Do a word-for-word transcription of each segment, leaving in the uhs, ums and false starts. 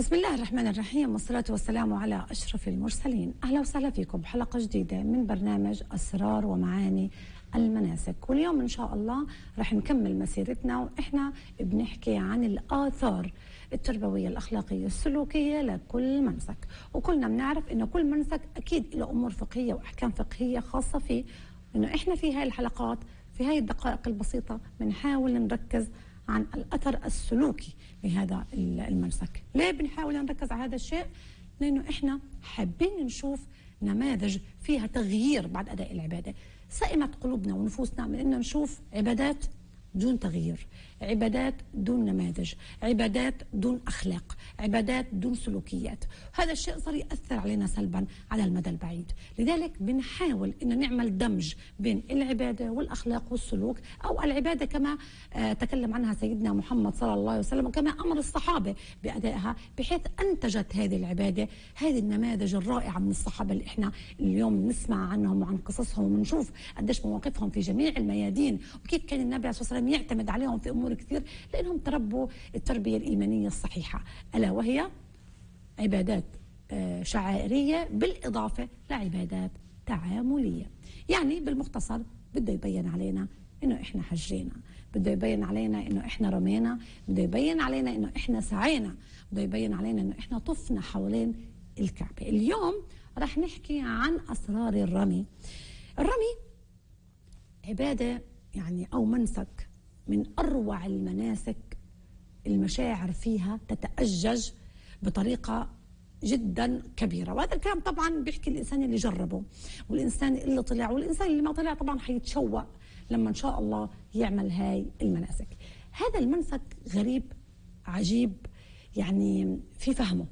بسم الله الرحمن الرحيم، والصلاة والسلام على أشرف المرسلين. أهلا وسهلا فيكم بحلقة جديدة من برنامج أسرار ومعاني المناسك. واليوم إن شاء الله رح نكمل مسيرتنا وإحنا بنحكي عن الآثار التربوية الأخلاقية السلوكية لكل منسك. وكلنا بنعرف إنه كل منسك أكيد له أمور فقهية وأحكام فقهية خاصة فيه، إنه إحنا في هاي الحلقات في هاي الدقائق البسيطة بنحاول نركز عن الأثر السلوكي لهذا المنسك. ليه بنحاول نركز على هذا الشيء؟ لأنه إحنا حابين نشوف نماذج فيها تغيير بعد أداء العبادة. سئمت قلوبنا ونفوسنا من إن نشوف عبادات دون تغيير، عبادات دون نماذج، عبادات دون أخلاق، عبادات دون سلوكيات. هذا الشيء صار يأثر علينا سلبا على المدى البعيد. لذلك بنحاول إن نعمل دمج بين العبادة والأخلاق والسلوك، أو العبادة كما آه تكلم عنها سيدنا محمد صلى الله عليه وسلم، وكما أمر الصحابة بأدائها، بحيث أنتجت هذه العبادة هذه النماذج الرائعة من الصحابة اللي إحنا اليوم نسمع عنهم وعن قصصهم ونشوف قديش مواقفهم في جميع الميادين، وكيف كان النبي عليه الصلاة والسلام يعتمد عليهم في أمور كثير، لأنهم تربوا التربية الإيمانية الصحيحة، ألا وهي عبادات شعائرية بالإضافة لعبادات تعاملية. يعني بالمختصر بده يبين علينا إنه إحنا حجينا، بده يبين علينا إنه إحنا رمينا، بده يبين علينا إنه إحنا سعينا، بده يبين علينا إنه إحنا طفنا حوالين الكعبة. اليوم رح نحكي عن أسرار الرمي. الرمي عبادة يعني أو منسك من أروع المناسك، المشاعر فيها تتأجج بطريقة جدا كبيرة. وهذا الكلام طبعا بيحكي الإنسان اللي جربه، والإنسان اللي طلع، والإنسان اللي ما طلع طبعا حيتشوق لما إن شاء الله يعمل هاي المناسك. هذا المنسك غريب عجيب يعني في فهمه.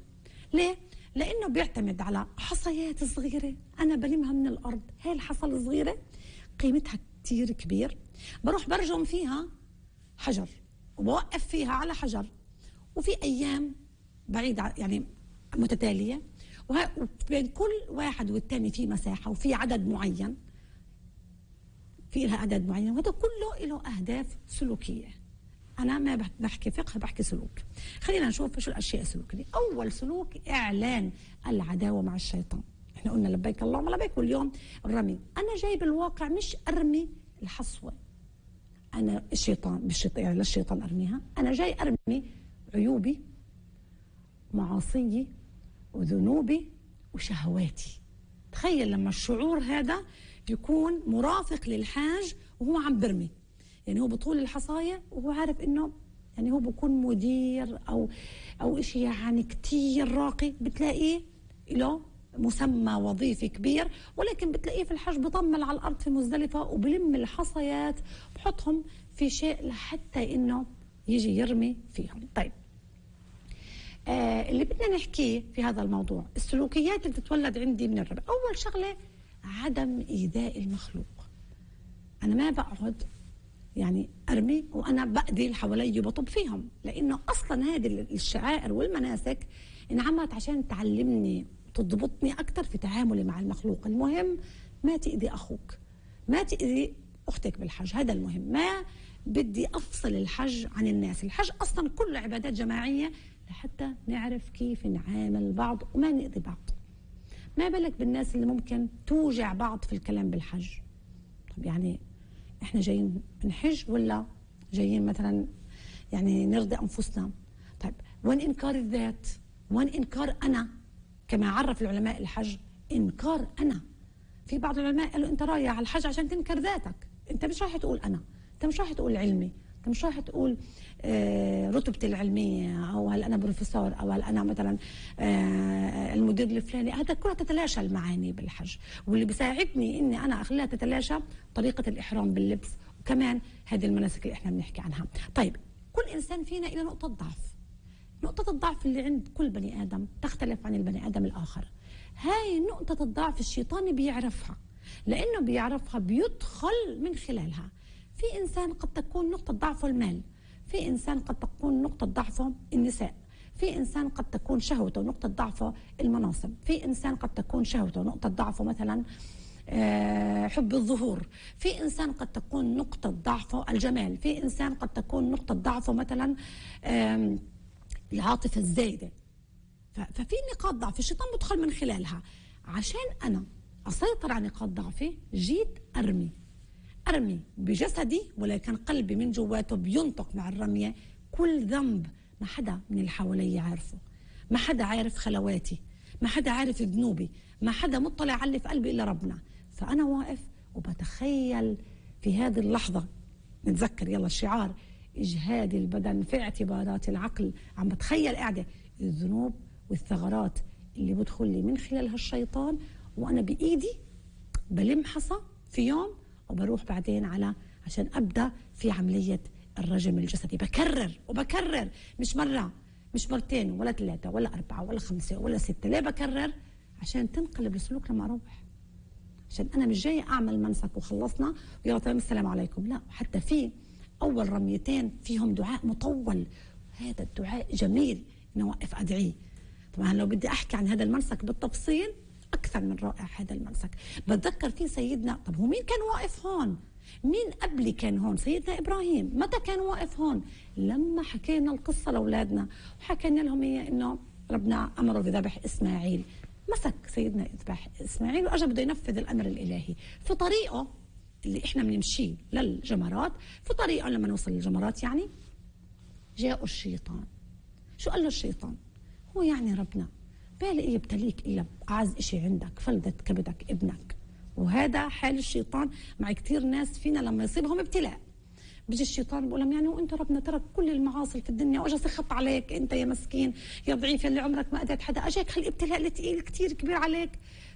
ليه؟ لأنه بيعتمد على حصيات صغيرة أنا بلمها من الأرض. هاي الحصى الصغيرة قيمتها كتير كبير، بروح برجم فيها حجر وبوقف فيها على حجر، وفي أيام بعيدة يعني متتالية، وبين كل واحد والتاني في مساحة وفي عدد معين، في لها عدد معين، وهذا كله له أهداف سلوكية. أنا ما بحكي فقه، بحكي سلوك. خلينا نشوف شو الأشياء السلوكية. أول سلوك إعلان العداوة مع الشيطان. إحنا قلنا لبيك اللهم لبيك، واليوم الرمي. أنا جاي بالواقع مش أرمي الحصوة أنا الشيطان بالشيطان يعني للشيطان أرميها، أنا جاي أرمي عيوبي، معاصيي، وذنوبي، وشهواتي. تخيل لما الشعور هذا يكون مرافق للحاج وهو عم برمي، يعني هو بطول الحصاية وهو عارف إنه يعني هو بكون مدير أو أو إشي يعني كتير راقي، بتلاقيه له مسمى وظيفي كبير، ولكن بتلاقيه في الحج بطمل على الأرض في مزدلفة وبلم الحصيات بحطهم في شيء لحتى إنه يجي يرمي فيهم. طيب آه اللي بدنا نحكيه في هذا الموضوع السلوكيات اللي بتتولد عندي من الرمي. أول شغلة عدم إيذاء المخلوق. أنا ما بقعد يعني أرمي وأنا بأذي اللي حوالي وبطب فيهم، لأنه أصلا هذه الشعائر والمناسك انعملت عشان تعلمني تضبطني أكثر في تعاملي مع المخلوق. المهم ما تأذي أخوك، ما تأذي أختك بالحج، هذا المهم. ما بدي أفصل الحج عن الناس. الحج أصلا كله عبادات جماعية لحتى نعرف كيف نعامل بعض وما نأذي بعض. ما بالك بالناس اللي ممكن توجع بعض في الكلام بالحج. طب يعني إحنا جايين نحج ولا جايين مثلا يعني نرضي أنفسنا؟ طيب وين إنكار الذات؟ وين إنكار أنا؟ كما عرف العلماء الحج إنكار أنا. في بعض العلماء قالوا أنت رايح على الحج عشان تنكر ذاتك، أنت مش رايح تقول أنا، أنت مش رايح تقول علمي، أنت مش رايح تقول آه رتبتي العلمية، أو هل أنا بروفيسور، أو هل أنا مثلا آه المدير الفلاني. هذا كلها تتلاشى المعاني بالحج. واللي بيساعدني إني أنا أخليها تتلاشى طريقة الإحرام باللبس، وكمان هذه المناسك اللي إحنا بنحكي عنها. طيب كل إنسان فينا إلى نقطة ضعف. نقطة الضعف اللي عند كل بني آدم تختلف عن البني آدم الآخر. هاي نقطة الضعف الشيطان بيعرفها، لأنه بيعرفها بيدخل من خلالها. في إنسان قد تكون نقطة ضعفه المال، في إنسان قد تكون نقطة ضعفه النساء، في إنسان قد تكون شهوته نقطة ضعفه المناصب، في إنسان قد تكون شهوته نقطة ضعفه مثلا حب الظهور، في إنسان قد تكون نقطة ضعفه الجمال، في إنسان قد تكون نقطة ضعفه مثلا العاطفة الزايدة. ففي نقاط ضعف الشيطان بدخل من خلالها. عشان أنا أسيطر على نقاط ضعفي جيت أرمي أرمي بجسدي، ولكن قلبي من جواته بينطق مع الرمية كل ذنب ما حدا من اللي حوالي عارفه، ما حدا عارف خلواتي، ما حدا عارف ذنوبي، ما حدا مطلع على اللي في قلبي إلا ربنا. فأنا واقف وبتخيل في هذه اللحظة، نتذكر يلا الشعار إجهاد البدن في اعتبارات العقل، عم بتخيل قاعدة الذنوب والثغرات اللي بدخل لي من خلالها الشيطان، وأنا بإيدي بلمحصها في يوم وبروح بعدين على عشان أبدأ في عملية الرجم الجسدي. بكرر وبكرر، مش مرة مش مرتين ولا ثلاثة ولا أربعة ولا خمسة ولا ستة. ليه بكرر؟ عشان تنقلب السلوك لما أروح، عشان أنا مش جاي أعمل منسك وخلصنا ويلا تمام السلام عليكم، لا. حتى في أول رميتين فيهم دعاء مطول، هذا الدعاء جميل إنه أوقف أدعيه. طبعا لو بدي أحكي عن هذا المنسك بالتفصيل أكثر من رائع هذا المنسك. بتذكر في سيدنا، طب هو مين كان واقف هون؟ مين قبلي كان هون؟ سيدنا إبراهيم. متى كان واقف هون؟ لما حكينا القصة لأولادنا وحكينا لهم هي إنه ربنا أمره بذبح إسماعيل، مسك سيدنا يذبح إسماعيل وأجا بده ينفذ الأمر الإلهي. في طريقه اللي إحنا بنمشيه للجمرات، في طريقه لما نوصل للجمرات يعني جاء الشيطان. شو قال له الشيطان؟ هو يعني ربنا بالي يبتليك إلا أعز إشي عندك، فلذة كبدك ابنك. وهذا حال الشيطان مع كتير ناس فينا لما يصيبهم ابتلاء. بيجي الشيطان بيقول لهم يعني وانت ربنا ترك كل المعاصي في الدنيا واجا سخط عليك انت يا مسكين يا ضعيف اللي عمرك ما اذيت حدا، اجاك هالابتلاء الثقيل كتير كبير عليك.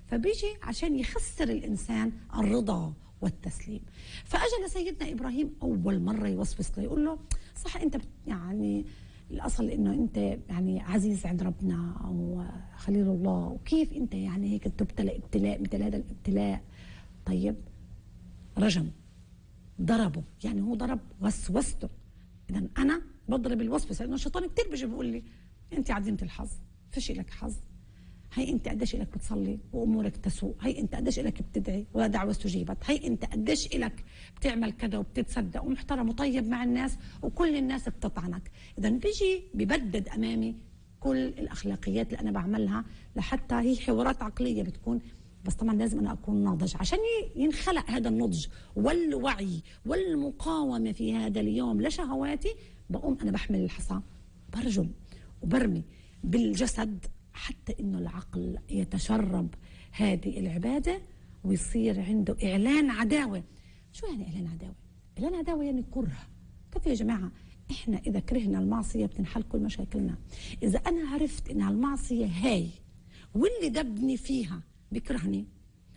فبيجي عشان يخسر الانسان الرضا والتسليم. فاجى لسيدنا ابراهيم اول مره يوسوس له، يقول له صح انت يعني الاصل انه انت يعني عزيز عند ربنا او خليل الله، وكيف انت يعني هيك تبتلى ابتلاء مثل هذا الابتلاء؟ طيب رجم، ضربه، يعني هو ضرب وسوسته. اذا انا بضرب الوسوسه، لانه الشيطان كثير بيجي بيقول لي انت عديمه الحظ، فيش لك حظ، هي انت قديش لك بتصلي وامورك تسوء، هي انت قديش لك بتدعي ولا دعوه استجيبت، هي انت قديش لك بتعمل كذا وبتتصدق ومحترم وطيب مع الناس وكل الناس بتطعنك. اذا بيجي ببدد امامي كل الاخلاقيات اللي انا بعملها، لحتى هي حوارات عقليه بتكون، بس طبعا لازم انا اكون ناضج. عشان ينخلق هذا النضج والوعي والمقاومه في هذا اليوم لشهواتي، بقوم انا بحمل الحصى برجم وبرمي بالجسد، حتى انه العقل يتشرب هذه العباده ويصير عنده اعلان عداوه. شو يعني اعلان عداوه؟ اعلان عداوه يعني كره. كيف يا جماعه؟ احنا اذا كرهنا المعصيه بتنحل كل مشاكلنا. اذا انا عرفت ان المعصيه هاي واللي دبني فيها بيكرهني،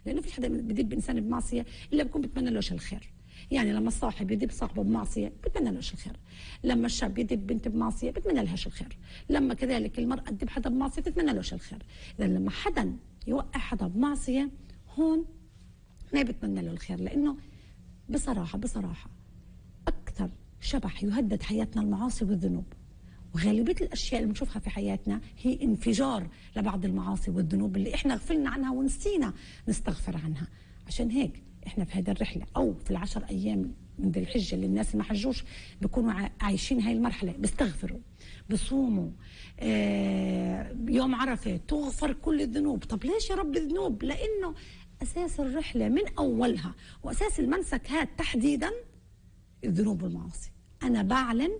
لانه في حدا بدب انسان بمعصيه الا بكون بتمنى له الخير. يعني لما الصاحب يدب صاحبه بمعصيه بتمنى له الخير، لما الشاب يدب بنت بمعصيه بتمنى لهاش الخير، لما كذلك المراه تدب حدا بمعصيه بتمنى له الخير. اذا لما حدا يوقع حدا بمعصيه هون ما بتمنى له الخير، لانه بصراحه بصراحه اكثر شبح يهدد حياتنا المعاصي والذنوب. وغالبيه الاشياء اللي بنشوفها في حياتنا هي انفجار لبعض المعاصي والذنوب اللي احنا غفلنا عنها ونسينا نستغفر عنها. عشان هيك احنا في هذه الرحله او في العشر ايام من ذي الحجه اللي الناس اللي ما حجوش بيكونوا عايشين هاي المرحله، بيستغفروا، بصوموا، آه يوم عرفه تغفر كل الذنوب. طب ليش يا رب الذنوب؟ لانه اساس الرحله من اولها واساس المنسك هذا تحديدا الذنوب والمعاصي. انا بعلن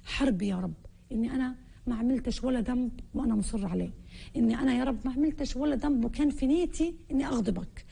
حرب يا رب، اني انا ما عملتش ولا ذنب وانا مصر عليه، اني انا يا رب ما عملتش ولا ذنب وكان في نيتي اني اغضبك،